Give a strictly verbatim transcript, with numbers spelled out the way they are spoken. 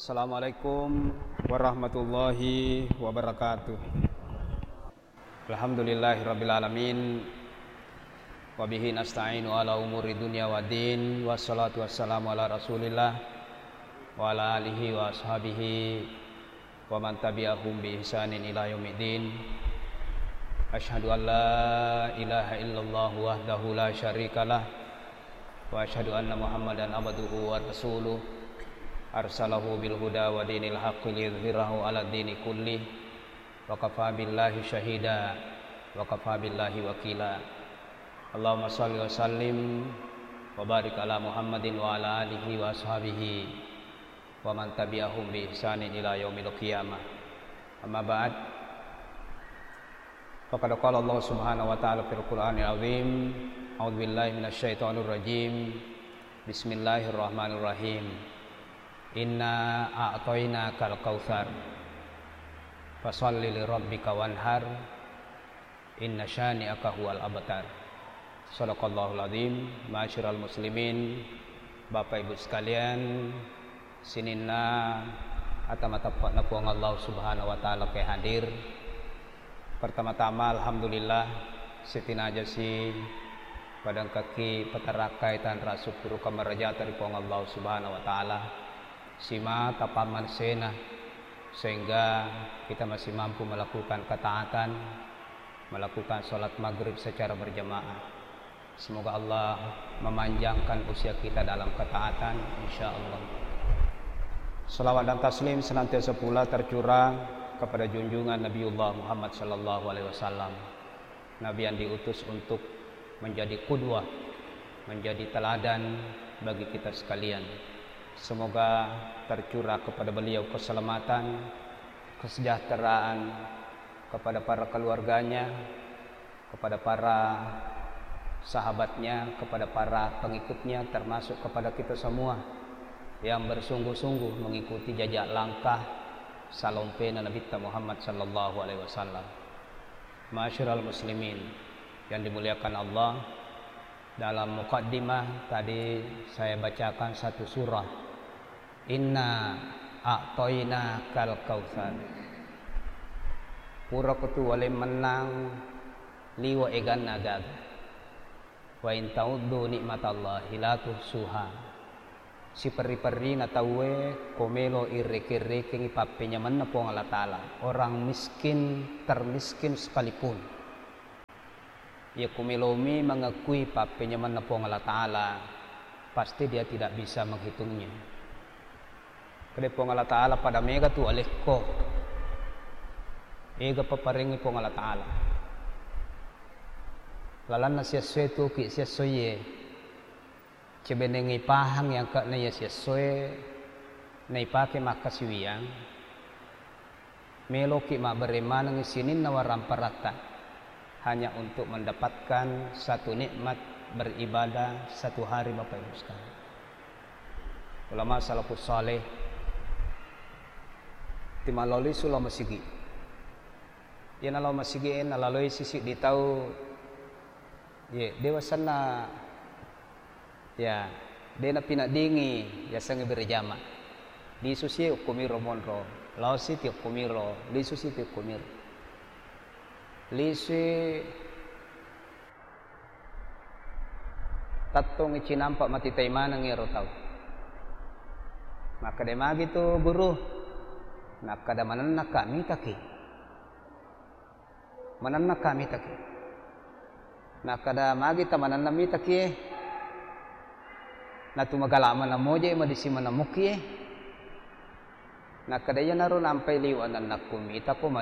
Assalamualaikum warahmatullahi wabarakatuh. Alhamdulillahirabbil alamin. Wa bihi nasta'inu ala umuri dunya waddin. Wassalatu wassalamu ala Rasulillah wa ala alihi wa ashabihi wa man tabi'ahum bi ihsanin ila yaumiddin. Asyhadu an la ilaha illallah wahdahu la syarikalah, wa asyhadu anna Muhammadan abduhu wa rasuluh, arsalahu bil huda wa dinil haqqi liyudhhirahu ala dini kulli, wa kafa billahi syahida, wa kafa billahi wakila. Allahumma shalli wa sallim wa barik ala Muhammadin wa ala alihi wa ashabihi wa man tabi'ahum bi ihsanin ila yaumil qiyamah. Amma ba'd. Faqad qala Allah Subhanahu wa ta'ala fil Qur'anil Azim, A'udzu billahi minasy syaithanir rajim. Bismillahirrahmanirrahim. Inna a'tainakal kautsar. Fashalli li rabbika wanhar. Inna syani'aka huwal abtar. Sadaqallahul azim. Ma'asyiral muslimin, Bapak Ibu sekalian, sininna ata mateppe'na Puang Allah Subhanahu wa Ta'ala ke hadir. Pertama-tama, alhamdulillah, sitinajasi padangkaki patarakkai tanra syukur kamarajata ri Puang Allah Subhanahu wa Ta'ala. Simata pammansena, sehingga kita masih mampu melakukan ketaatan, melakukan sholat maghrib secara berjamaah. Semoga Allah memanjangkan usia kita dalam ketaatan, insya Allah. Salawat dan taslim senantiasa pula tercurah kepada junjungan Nabiullah Muhammad sallallahu alaihi wasallam, Nabi yang diutus untuk menjadi qudwah, menjadi teladan bagi kita sekalian. Semoga tercurah kepada beliau keselamatan, kesejahteraan, kepada para keluarganya, kepada para sahabatnya, kepada para pengikutnya, termasuk kepada kita semua yang bersungguh-sungguh mengikuti jajak langkah salompena Nabitta Muhammad sallallahu alaihi wasallam. Ma'asyiral muslimin yang dimuliakan Allah, dalam mukaddimah tadi saya bacakan satu surah, Inna a'tainakal kautsar. Purako tu wale mennang liwa eganna gaga. Wa in ta'uddu ni'matallahi la tuhsuha. Siperri-perrina tauwe ko melo irreke-rekengi pappenyamenna Puang Allah Ta'ala. Orang miskin, termiskin sekalipun. Iya ko melomi mengakui pappenyamenna Puang Allah Ta'ala, pasti dia tidak bisa menghitungnya. Kede Puang Allah Ta'ala pada mega tu alekko. Ega paparengi Puang Allah Ta'ala. Lalanna siessoe tuki siessoe. Cebenengngi pahang yang kena iya siessoe naipake makkasiwiang. Meloki mabbere manengngi sininna waramparatta hanya untuk mendapatkan satu nikmat beribadah satu hari, Bapak Ibu sekalian. Ulama salafus saleh timaloli sulo masigi. Iya nalo masigi e nalaloi sisi di tau, ye, dewasanna, ya, de napinaddingi yasengnge berejama. Lisu si okkomiro monro, lao si ti okkomiro, lisu si ti okkomiro. Lisu tattongngi cinampa matitai maneng iyaro tau. Makkeda magi tu guru, nakkeda manennakka mitaki. Manennakka mitaki. Nakkeda magi ta manenna mitaki e. Natu magala mana moje madisi mana muki e. Nakkeda iyanaro nampai liwa nennakku mitako